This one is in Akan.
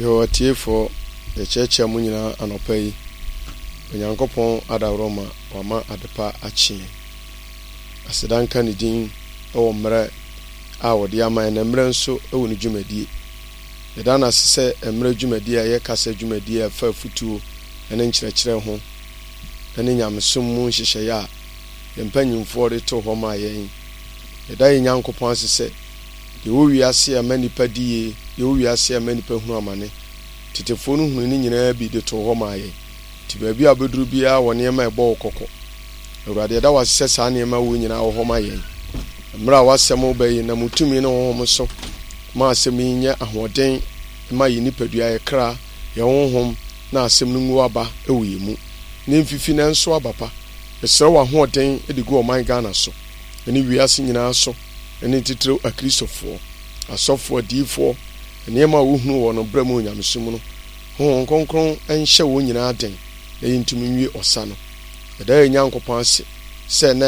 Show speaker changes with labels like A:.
A: Yoo atiefoɔ, yɛkyerɛkyerɛ mo nyinaa anɔpa yi. Onyankopɔn adaworoma wama adepa akye yɛn. Aseda nka ne din wɔ mmerɛ a ɔde ama yɛn na mmerɛ nso wɔ ne dwumadie. Yɛda no ase sɛ mmerɛ dwumadie a ɛyɛ kasa dwumadie a ɛfa afutuo ne nkyerɛkyerɛ ho ne nyamesom mu nhyehyɛeɛ a yɛn mpanyimfoɔ de too hɔ maa yɛn. Yɛda yɛn Nyankopɔn ase sɛ deɛ ɛwɔ wiase a ɛma nnipa di yie, deɛ ɛwɔ wiase a ɛma nnipa hunu amane, tetefoɔ no hunuu ne nyinaa bi de too hɔ maa yɛn. Nti baabi a wobɛduru biara wɔ nneɛma a ɛbɔ wo kɔkɔ. Awurade, yɛda wo ase sɛ saa nneɛma wei nyinaa wɔ hɔ ma yɛn. Mmerɛ a w'asɛm reba yi, nam wo tumi ne honhom so ma asɛm yi nyɛ ahoɔden ma yɛn nipadua, yɛn kra, yɛn honhom, na asɛm no ngu aba wɔ yɛn mu, na ɛmfifi na ɛnso aba pa. Mesrɛ w'ahoɔden de gu ɔman Ghana so, ne wiase nyinaa so, ne titiriw Akristofoɔ, asɔfoɔ, adiyifoɔ, nneɛma a wohunu wɔ no berɛ mu wɔ nyamesom mu no, Honhom Kronkron nhyɛ wɔn nyinaa den na yɛntumi nwie ɔsa no. Yɛda yɛn Nyankopɔn ase sɛ na.